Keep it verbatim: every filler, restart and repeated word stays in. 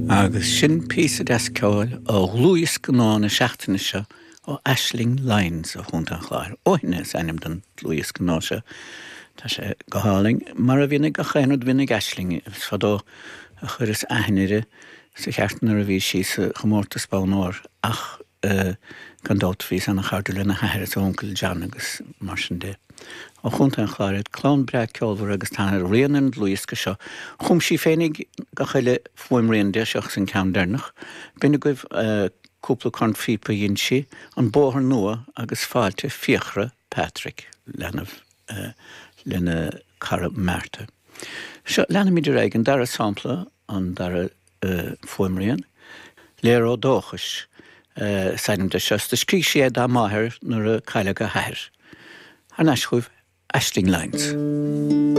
Agus sin píosa deas ceoil ó dhlúthdhiosca nua na seachtaine seo ó Aisling Lyons ó Chontae an Chláir. Ó Thine is ainm don dlúthdhiosca nua seo Tá sé go hálainn mar a bhíonn gach aon rud a bhíonn ag Aisling is fadó a chuireas aithne uirthi sa cheart nuair a bhí sí sa chomórtas Bonn Óir ach uh, gan dabht bhí an-chairdiúil lena hathair is uncail John agus mar sin de. Ó Chontae an Chláir clann breá ceolmhar agus tá rian an dlúthdhiosca seo. Chum sí féinig gach uile fuaimrian de seo san ceann deireanach. B'in agaibh uh, cúpla cornphíopa dhein sí an bóthar nua agus fáilte Fiachra Patrick leanbh uh, lena cara Marta. Seo leanaimid ar aghaidh an dara sampla an dara uh, fuaimrian, Léaró Dóchais uh, is ainm de seo, do scríobh sí é dá máthair nuair a cailleadh a hathair. Thar n-ais chugaibh Aisling Lyons.